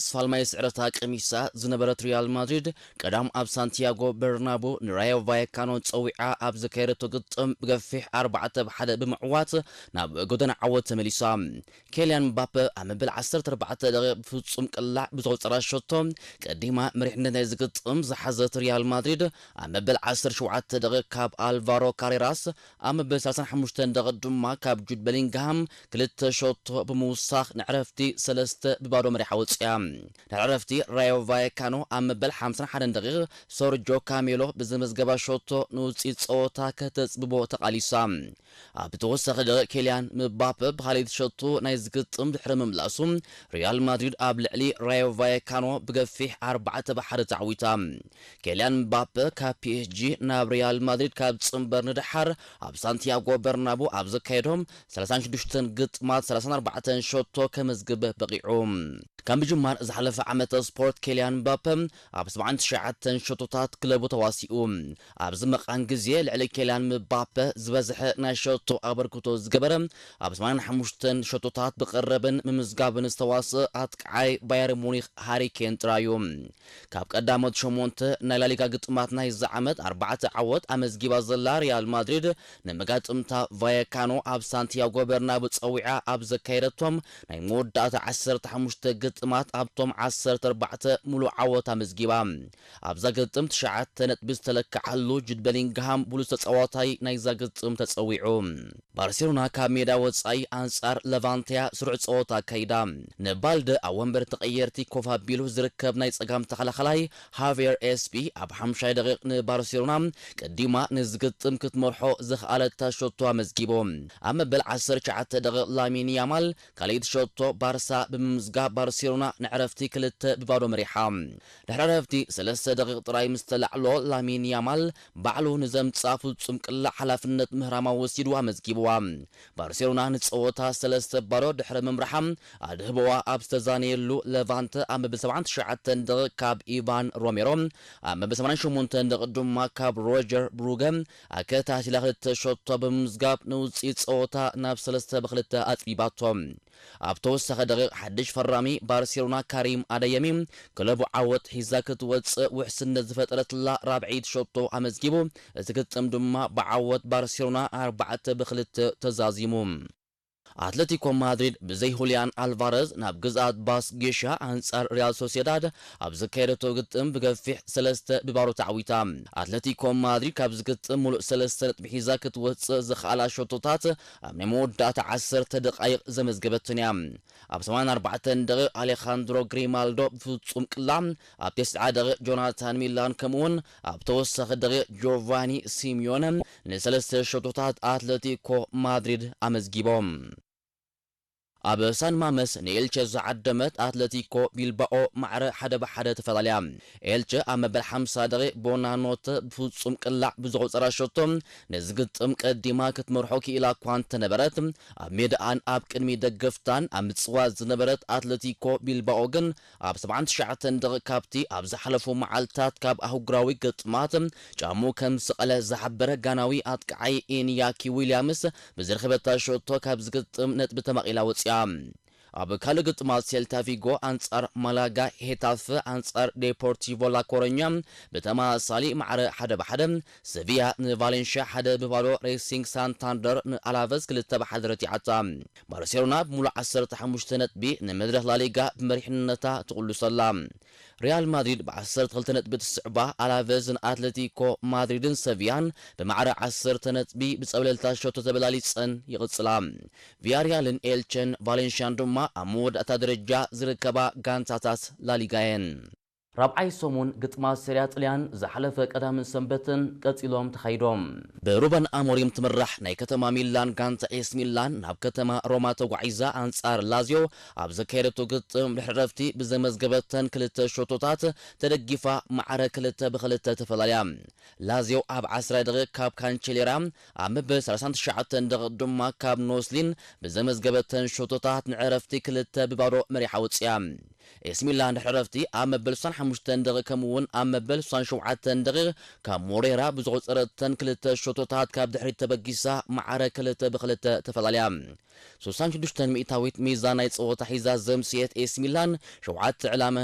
ስፋልማይ ስዕረታ ቀሚሳ ዝነበረት ሪያል ማድሪድ ቀዳም ኣብ ሳንቲያጎ በርናቡ ንራዮ ቫየካኖ ጸዊዓ ኣብ ዘካየደቶ ግጥም ብገፊሕ ኣርባዕተ ብ ሓደ ብምዕዋት ናብ ጎደና ዓወት ተመሊሳ። ኬልያን ምባፐ ኣብ መበል ዓሰርተ ኣርባዕተ ደቂቕ ብፍጹም ቅላዕ ብዘቑጸራ ሸቶ ቀዲማ መሪሕነት ናይ ዝግጥም ዝሓዘት ሪያል ማድሪድ ኣብ መበል ዓሰርተ ሸውዓተ ደቂቕ ካብ ኣልቫሮ ካሬራስ ኣብ መበል ሰላሳን ሓሙሽተን ደቂቕ ድማ ካብ ጁድ በሊንግሃም ክልተ ሸቶ ብምውሳኽ ንዕረፍቲ ሰለስተ ብ ባዶ መሪሓ ወጺኣ። ድሕሪ ዕረፍቲ ራዮ ቫየካኖ ኣብ መበል ሓምሳን ሓደን ደቂቕ ሶርጆ ካሜሎ ብዘመዝገባ ሸቶ ንውጽኢት ጸወታ ከተጽብቦ ተቓሊሳ። ኣብ ተወሳኺ ደቂቕ ኬልያን ምባፐ ብኻልኣይቲ ሸቶ ናይ ዝግጥም ድሕሪ ምምላሱ ሪያል ማድሪድ ኣብ ልዕሊ ራዮ ቫየካኖ ብገፊሕ ኣርባዕተ ብ ሓደ ተዓዊታ። ኬልያን ምባፐ ካብ ፒ ኤስ ጂ ናብ ሪያል ማድሪድ ካብ ጽንበር ንደሓር ኣብ ሳንቲያጎ በርናቡ ኣብ ዘካየዶም ሰላሳን ሽዱሽተን ግጥማት ሰላሳን ኣርባዕተን ሸቶ ከመዝግብ በቒዑ። ካብ ምጅማር ዝሓለፈ ዓመተ ስፖርት ኬልያን ምባፐ ኣብ ሰብዓን ትሽዓተን ሸቶታት ክለቡ ተዋሲኡ። ኣብዚ መቓን ግዜ ልዕሊ ኬልያን ምባፐ ዝበዝሐ ናይ ሸቶ ኣበርክቶ ዝገበረ ኣብ ሰማንያን ሓሙሽተን ሸቶታት ብቐረብን ምምዝጋብን ዝተዋስእ ኣጥቃዓይ ባየር ሙኒክ ሃሪ ኬን ጥራዩ። ካብ ቀዳሞት ሸሞንተ ናይ ላሊጋ ግጥማት ናይዚ ዓመት ኣርባዕተ ዓወት ኣመዝጊባ ዘላ ሪያል ማድሪድ ንመጋጥምታ ቫየካኖ ኣብ ሳንቲያጎ በርናቡ ጸዊዓ ኣብ ዘካየደቶም ናይ መወዳእታ ዓሰርተ ሓሙሽተ ግጥማት ኣብቶም ዓሰርተ ኣርባዕተ ሙሉእ ዓወት ኣመዝጊባ። ኣብዛ ግጥም ትሽዓተ ነጥቢ ዝተለክዓሉ ጁድ በሊንግሃም ብሉጽ ተጻዋታይ ናይዛ ግጥም ተጸዊዑ። ባርሴሎና ካብ ሜዳ ወጻኢ ኣንጻር ለቫንቴያ ስሩዕ ጸወታ ኣካይዳ። ንባልደ ኣብ ወንበር ተቐየርቲ ኮፍ ኣቢሉ ዝርከብ ናይ ጸጋም ተኸላኸላይ ሃቬር ኤስፒ ኣብ ሓምሻይ ደቂቕ ንባርሴሎና ቀዲማ ንዝግጥም ክትመርሖ ዝኸኣለታ ሸቶ ኣመዝጊቡ። ኣብ መበል ዓሰርተ ትሽዓተ ደቂቕ ላሚን ያማል ካልኣይቲ ሸቶ ባርሳ ብምምዝጋብ ባርሴሎና ንዕረፍቲ ክልተ ብ ባዶ መሪሓ። ድሕሪ ዕረፍቲ ሰለስተ ደቂቕ ጥራይ ምስ ተላዕሎ ላሚን ያማል ባዕሉ ንዘምጽኣ ፍጹም ቅላዕ ሓላፍነት ምህራማ ወሲዱ ኣመዝጊብዋ። ባርሴሎና ንጸወታ ሰለስተ ባዶ ድሕሪ ምምራሓ ኣድህቦዋ ኣብ ዝተዛነየሉ ለቫንተ ኣብ መበል ሰብዓን ትሽዓተን ደቂቕ ካብ ኢቫን ሮሜሮ ኣብ መበል ሰማንያን ሸሞንተን ደቂቕ ድማ ካብ ሮጀር ብሩገ ኣከታቲላ ክልተ ሸቶ ብምምዝጋብ ንውጽኢት ጸወታ ናብ ሰለስተ ብ ክልተ ኣጽቢባቶ። ኣብ ተወሳኺ ደቂቕ ሓድሽ ፈራሚ ባርሴሎና ካሪም ኣደየሚ ክለቡ ዓወት ሒዛ ክትወጽእ ውሕስነት ዝፈጠረትላ ራብዐይቲ ሸቶ ኣመዝጊቡ፣ እቲ ግጥም ድማ ብዓወት ባርሴሎና ኣርባዕተ ብ ክልተ ተዛዚሙ። ኣትለቲኮ ማድሪድ ብዘይ ሁሊያን ኣልቫረዝ ናብ ግዝኣት ባስክ ጌሻ ኣንጻር ሪያል ሶሴዳድ ኣብ ዘካየደቶ ግጥም ብገፊሕ ሰለስተ ብ ባዶ ተዓዊታ። ኣትለቲኮ ማድሪድ ካብዚ ግጥም ሙሉእ ሰለስተ ነጥቢ ሒዛ ክትወጽእ ዝኸኣላ ሸቶታት ኣብ ናይ መወዳእታ ዓሰርተ ደቓይቕ ዘመዝገበትን እያ። ኣብ ሰማንያን ኣርባዕተን ደቂቕ ኣሌኻንድሮ ግሪማልዶ ብፍጹም ቅላ፣ ኣብ ተስዓ ደቂቕ ጆናታን ሚላን ከምኡውን ኣብ ተወሳኺ ደቂቕ ጆቫኒ ሲሚዮነ ንሰለስተ ሸቶታት ኣትለቲኮ ማድሪድ ኣመዝጊቦም። ኣብ ሳን ማመስ ንኤልቸ ዝዓደመት ኣትለቲኮ ቢልባኦ ማዕረ ሓደ ብ ሓደ ተፈላለያ። ኤልቸ ኣብ መበል ሓምሳ ደቂቕ ቦናኖተ ብፍጹም ቅላዕ ብዘቑጸራ ሸቶ ነዚ ግጥም ቀዲማ ክትመርሖ ክኢላ እኳ እንተነበረት፣ ኣብ ሜዳኣን ኣብ ቅድሚ ደገፍታን ኣብ ምጽዋት ዝነበረት ኣትለቲኮ ቢልባኦ ግን ኣብ ሰብዓን ትሽዓተን ደቂቕ ካብቲ ኣብ ዝሓለፉ መዓልታት ካብ ኣህጉራዊ ግጥማት ጫሙ ከም ዝሰቐለ ዝሓበረ ጋናዊ ኣጥቃዓይ ኢንያኪ ዊልያምስ ብዝረኸበታ ሸቶ ካብ ዝግጥም ነጥቢ ተማቒላ ወጺኣ። ኣብ ካልእ ግጥማት ሴልታ ቪጎ ኣንጻር ማላጋ፣ ሄታፈ ኣንጻር ዴፖርቲቮ ላኮረኛ ብተመሳሳሊ ማዕረ ሓደ ብ ሓደ፣ ሰቪያ ንቫሌንሽያ ሓደ ብ ባዶ፣ ሬሲንግ ሳንታንደር ንኣላቨዝ ክልተ ብ ሓደ ረቲዓታ። ባርሴሎና ብምሉእ ዓሰርተ ሓሙሽተ ነጥቢ ንመድረኽ ላሊጋ ብመሪሕነታ ትቕልሶ ኣላ። ሪያል ማድሪድ ብ ዓሰርተ ክልተ ነጥቢ ትስዕባ ኣላቨዝ ንኣትለቲኮ ማድሪድን ሰቪያን ብማዕረ ዓሰርተ ነጥቢ ብጸብለልታ ሸቶ ተበላሊጸን ይቕጽላ። ቪያሪያልን ኤልቸን ቫሌንሽያን ድማ ኣብ መወዳእታ ደረጃ ዝርከባ ጋንታታት ላሊጋ እየን። ራብዓይ ሰሙን ግጥማት ሴሪያ ጥልያን ዝሓለፈ ቀዳምን ሰንበትን ቀጺሎም ተኻይዶም። ብሩበን ኣሞሪም ትምራሕ ናይ ከተማ ሚላን ጋንታ ኤስ ሚላን ናብ ከተማ ሮማ ተጓዒዛ ኣንጻር ላዚዮ ኣብ ዘካየደቶ ግጥም ድሕሪ ረፍቲ ብዘመዝገበተን ክልተ ሸቶታት ተደጊፋ ማዕረ ክልተ ብ ክልተ ተፈላለያ። ላዚዮ ኣብ ዓስራይ ደቂቕ ካብ ካንቸሌራ ኣብ መበል ሰላሳን ትሽዓተን ደቂቕ ድማ ካብ ኖስሊን ብዘመዝገበተን ሸቶታት ንዕረፍቲ ክልተ ብ ባዶ መሪሓ ወጺኣ። ኤሲ ሚላን ድሕሪ ዕረፍቲ ኣብ መበል ስሳን ሓሙሽተን ደቂቕ ከምኡ እውን ኣብ መበል ስሳን ሸውዓተን ደቂቕ ካብ ሞሬራ ብዝቖጸረተን ክልተ ሸቶታት ካብ ድሕሪት ተበጊሳ ማዕረ ክልተ ብክልተ ተፈላልያ። ስሳን ሽዱሽተን ሚእታዊት ሚዛን ናይ ጸወታ ሒዛ ዘምስየት ኤሲ ሚላን ሸውዓተ ዕላመ